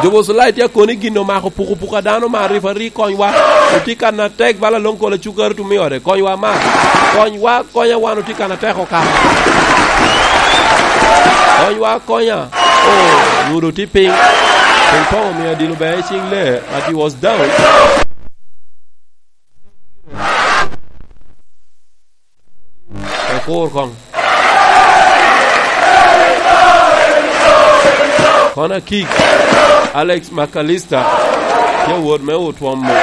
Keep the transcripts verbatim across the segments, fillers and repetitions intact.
Jobo Sulai tye akoni gin omako puku puku a dano ma rifari konywa. Otye kan atek bala long kola cukari tumi ode. Konywa ma. Konywa, konya wan otye kan atek oka. Konywa, konya. Oh, nyudo tye piny. Piny poŋ omio adilo bene i ciŋ lee, but he was down. Okur koŋ. Corner kick. Alex McAllister. Tye wot me otwomo.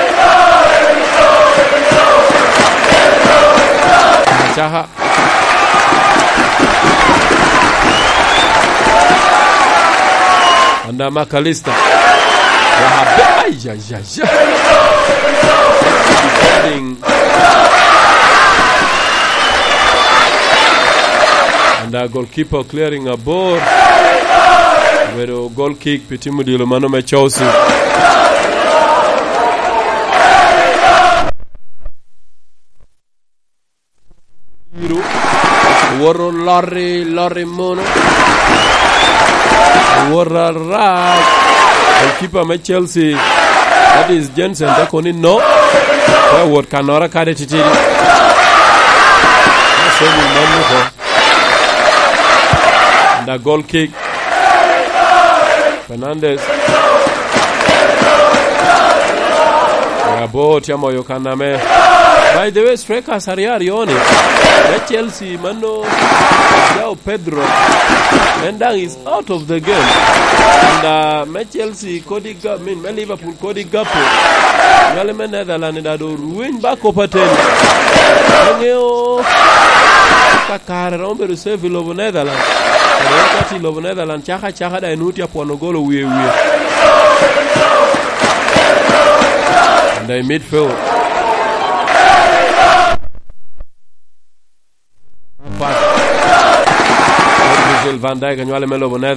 Acaka. Under McAllister. Wahabe. Ai, ai, ai, ai. Defending. And a goalkeeper clearing a ball. Obedo goal kick pi tim odilo mano me Chelsea. Biro. Owoto loti, loti muno. Owoto arac. Goalkeeper me Chelsea, that is Jensen, te kono ni no. Pe owot kannoro kade titidi. Saving man oko. And a goal kick. Fernandes. Rabo tye amoyo kan ame. By the way, strikers aryo aryo ni. Me Chelsea mano, Joao Pedro. En daŋ is out of the game. And, uh, me Chelsea kodi ga-, I mean, me Liverpool kodi Gakpo. Nywale me Netherlands da do rweny ba kop aten. Aŋeo ka kare romo bedo safe i lobo Netherlands. Kare romo ka tye i lobo Netherlands, caka caka da inwoŋo tye apwono gol owie wie. And i midfield. Pass. Virgil van Dijk anywale me lobo Netherlands.